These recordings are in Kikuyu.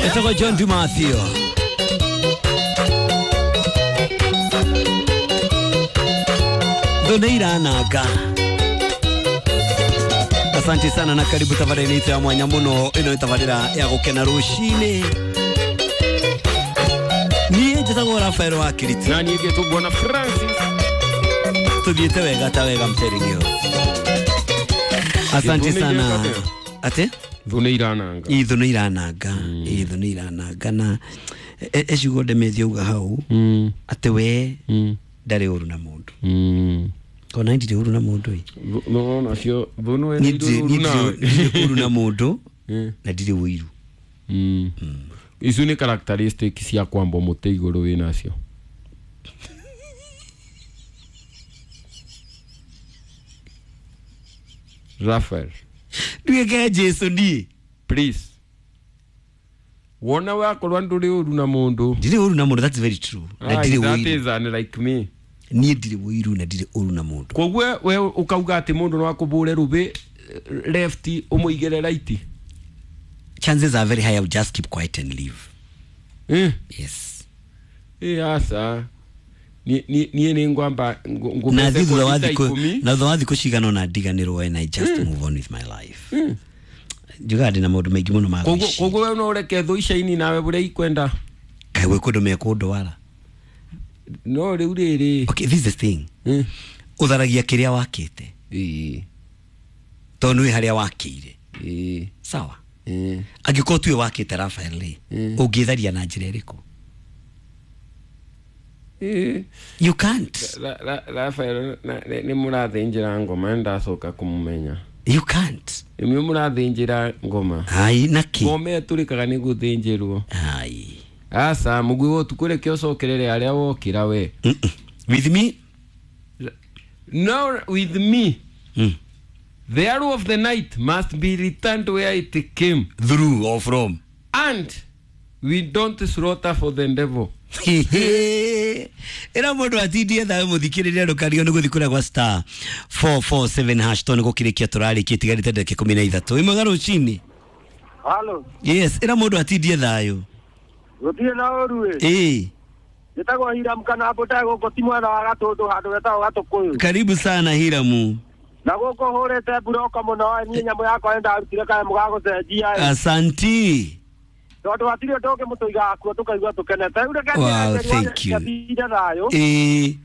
Etagwo John Dumathio. Thũ nĩ irananga. Asante sana na karibu tabarĩra itũ ya mwanya mũno. Ĩno nĩ tabarĩra ya gũkena rũcinĩ. Niĩ njĩtagwo Rafael wa Kiriti. Na niĩ ngetwo Bwana Francis. Tuthiĩte wega ta wega mteringio. Asante sana. Ate? Thũ nĩ irananga. Thũ nĩ irananga. Thũ nĩ irananga na eciugo ndemethia uga hau atĩ we ndarĩ ũru na mũndũ. Kona ndirĩ ũru na mũndũ ĩ. No nacio thũ nĩ Niĩ ndirĩ ũru na mũndũ na ndirĩ ũiru. Icio nĩ characteristic cia kwambwo mũtĩ igũrũ wĩ nacio. Raphael. Nduĩke Jesu niĩ. Please. Wona wakorwo ndũrĩ ũru na mũndũ. Ndirĩ ũru na mũndũ, that's very true. Na ndirĩ That ũiru. is unlike me. Niĩ ndirĩ ũiru na ndirĩ ũru na mũndũ. Koguo we ukauga atĩ mũndũ no akũbũre rũbĩ left ũmũigĩre right. Chances are very high I will just keep quiet and leave. Yes. Aca. Niĩ nĩ ngwamba Na thutha wa thikũ na thutha wa thikũ cigana ũna ndiganĩrwo and I just move on with my life. Njugaga ndĩna maũndũ maingĩ mũno ma gwĩciria. Koguo we no ũreke thũ icaini nawe ũrĩa ikwenda. Kaĩ gwĩ kũndũ mekũndwara. No rĩu rĩrĩ. Okay, this is the thing. Ũtharagia kĩrĩa wakĩte. Tondũ nĩũĩ harĩa wakĩire. Sawa. Angĩkorwo tuwe wakĩte Raphael rĩ, ũngĩtharia na njĩra ĩrĩkũ? You can't. Raphael nĩ mũrathĩnjĩra ngoma ndacoka kũmũmenya. You can't. Nĩ mũrathĩnjĩra ngoma. Ai naki. Ngoma ĩtũrĩkaga nĩ gũthĩnjĩrwo. Ai. Aca mũgui wa ũtukũ reke ũcokerere harĩa wokĩra we. With me? No, with me. The arrow of the night must be returned where it came. Through or from. And we don't slaughter for the devil. Ĩra mũndũ atindie thayũ mũthikĩrĩria ndũkario nĩ gũthiĩ kũrĩa gwa star 447 hash tondũ nĩ gũkĩrĩkia tũrarĩkia itigarĩte ndagĩka 13. Ĩmwe rũcinĩ. Hello. Yes, ĩra mũndũ atindie thayũ. Gũtirĩ na ũru ĩ. Ĩ. Njĩtagwo Hiram kana mbũta gũkũ ti mwena wa Gatũndũ handũ getagwo Gatũkũyũ. Karibu sana Hiramu. Na gũkũ hũrĩte mburoko mũno niĩ nyamũ yakwa nĩ ndarutire kanyamũ ga gũcenjia. Asanti. Tondũ hatirĩ ũndũ ũngĩ mũtũigaga kuo tũkaigua tũkenete. Rĩu reke Wow, thank you. atinde thayũ. Ĩ.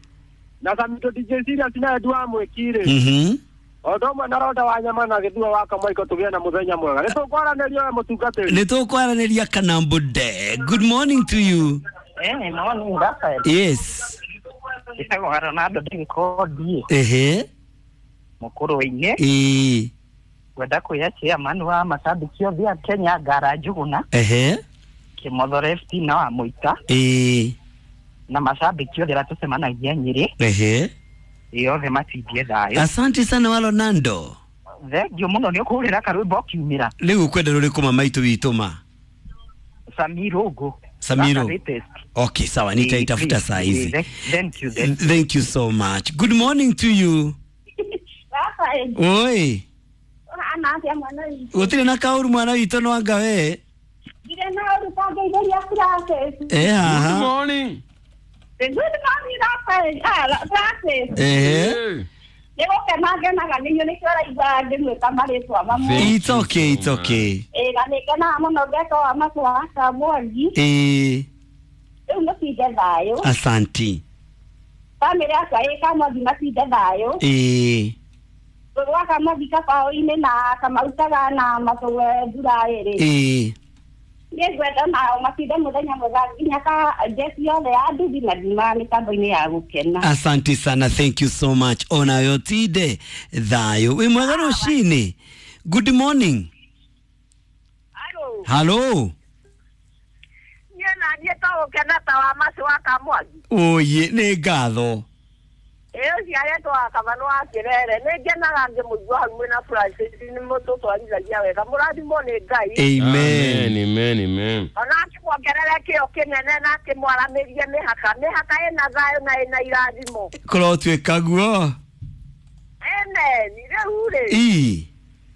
Na Samito DJ Serious na Edu wa Mwĩki rĩ. O ũndũ ũmwe na Ronda wa Nyama na Gĩthua wa Kamaiko tũgĩe na mũthenya mwega. Nĩ tũkwaranĩria we mũtungatĩri. Nĩ tũkwaranĩria Kanambude. Good morning to you. Morning, Raphael. Yes. Njĩtagwo Ronaldo ndĩgĩkondi. Ehe. Mũkũrũ-inĩ. Ĩ. Ngwenda kwĩra chairman wa macambĩki othe a Kenya Ngara Njũgũna. Ehe. Kĩmotho Left na wa Mũita. Ĩ. Na macambĩki othe arĩa tũcemanagia Nyĩrĩ. Ehe. Ĩ othe matindie thayũ. Asante sana wa Ronaldo. Thengiũ mũno nĩ ũkũhũrĩra karwĩmbo ũkiumĩra. Rĩu ũkwenda rũrĩkũ ma maitũ witũ ma? Samirogo. Samiro. Okay, sawa, nitaitafuta saa hizi. Thank you. Thank you so much. Good morning to you. Rafael. Oi. Ũhana atĩa mwana witũ? Gũtirĩ na kaũru mwana witũ no anga we. Ndirĩ na ũru tangeithĩria Francis. Eh, haha. Good morning. Good morning, Rafael. Francis. Eh. Nĩ gũkena ngenaga nĩ inyuĩ nĩkĩo ũraigua ngĩmwĩta marĩtwa mamwe. It's okay, it's okay. Ĩ na nĩ ngenaga mũno ngeka wa macũ wa Kamwangi. Ĩ. Rĩu mũtinde thayũ. Asanti. Bamĩrĩ yakwa ĩ Kamwangi matinde thayũ. Ĩ. Gwa Kamwangi kabaũ-inĩ na kamautaga na matũwe mbura ĩrĩ. Ĩ. Niĩ ngwenda nao matinde mũthenya mwega nginya ka njeci yothe ya nduthi na nduma mĩtambo-inĩ ya gũkena. Asante sana, thank you so much. Onayo tinde thayũ. Wĩ mwega rũcinĩ. Good morning. Hello. Hello. Niĩ na niĩ to gũkena ta wa macũ wa Kamwangi. Oye, nĩ ngatho. Ĩ ũcio aretwo wa Kavanũ wa Kĩrere. Nĩ ngenaga ngĩmũigua hau mwĩna Francis nĩ mũtũtwarithagia wega. Mũrathimwo nĩ Ngai. Amen. Amen, amen. Ona akĩmuongerere kĩo kĩnene na akĩmwaramĩrie mĩhaka. Mĩhaka ĩna thayũ na ĩna irathimo. Kũrotuĩka guo. Amen. Rĩu rĩ. Ĩ.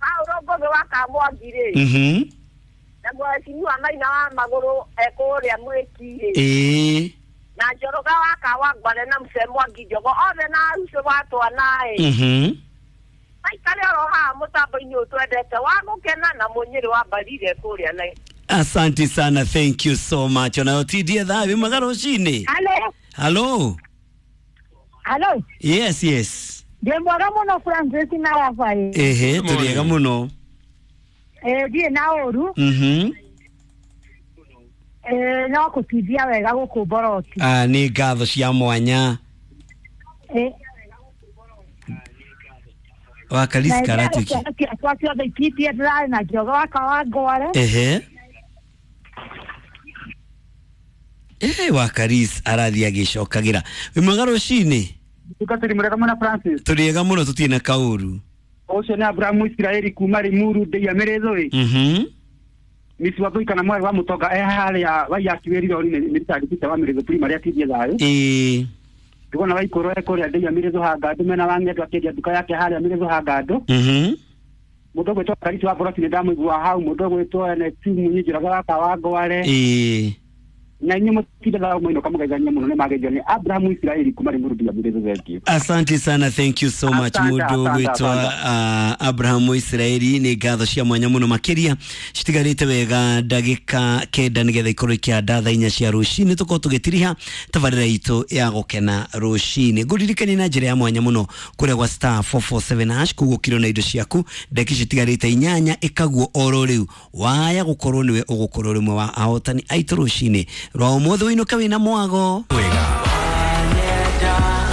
Paũlũ Ngũgĩ wa Kamwangi rĩ. Na mheshimiwa Maina wa Magũrũ ekũrĩa mwĩki-rĩ. Ĩĩ. Na Njoroge wa Kawangware na Mũcee Mwangi Njogo othe na Aruco wa twana-ĩ. Maikare oro haha mũtambo-inĩ ũyũ twendete wa gũkena na Mũnyĩrĩ wa Mbarire kũrĩa na Asante sana, thank you so much. Onayo tindie thaa mwega rũcinĩ. Halo, Hello. halo. Yes, yes. Ndĩ mwega mũno Francis na Rafael. Ehe, Good morning. tũrĩega mũno. Ndirĩ na ũru. No kũtithia wega gũkũ Mboroti. Ah, nĩ ngatho cia mwanya. Wa Kalisi Karatuki. Ciana ciakwa ciothe ikitie ndĩrarĩ na Njoroge wa Kawangware. Ehe. Eh, wa Karis arathiĩ agĩcokagĩra. Wĩ mwega rũcinĩ. Tũrĩ mwega mũno Francis. Tũrĩega mũno tũtirĩ na kaũru. Ũcio nĩ Abrahamu Isiraeli kuma Limuru ndĩia Mĩrĩthũ ĩ. Misi wa Thũi kana mwarĩ wa Mũtonga e harĩa Waiyaki wĩrire nĩ Richard wa Mĩrĩthũ Primary atindie thayũ. Ĩĩ. Ndĩrona Waikũrũ e kũrĩa ndĩia Mĩrĩthũ Hangandũ mena wa Ng'endo akĩendia nduka yake harĩa Mĩrĩthũ Hangandũ. Mũndũ ũgwĩtwo Karisi wa Boroti nĩ ndamũigua hau, mũndũ ũgwĩtwo NXT Munyi Njoroge wa Kawangware. Ĩĩ. Na inyuĩ mũtinde thayũ mũinũka mũgeithanie mũno nĩ mageithio nĩ Abrahamu Isiraeli kuma Limuru ndĩia Mĩrĩthũ thengiũ. Asante sana, thank you so much. Asante, Mũndũ asante, gwĩtwa asante. Abraham Israeli nĩ ngatho cia mwanya mũno makĩria citigarĩte wega ndagĩka 9 nĩgetha ikorwo ikĩanda thaa 4 cia rũcinĩ tũkorwo tũgĩtiriha tabarĩra itũ ya gũkena rũcinĩ. Ngũririkanie na njĩra ya mwanya mũno kũrĩa gwa star 447 hash kũu ũkirwo na indo ciaku ndagĩka citigarĩte 8 ĩkaguo oro rĩu waya gũkorwo nĩwe ũgũkorwo rĩmwe wa ahotani aitũ rũcinĩ rwa ũmũthĩ wĩinũka wĩna mwago Wega.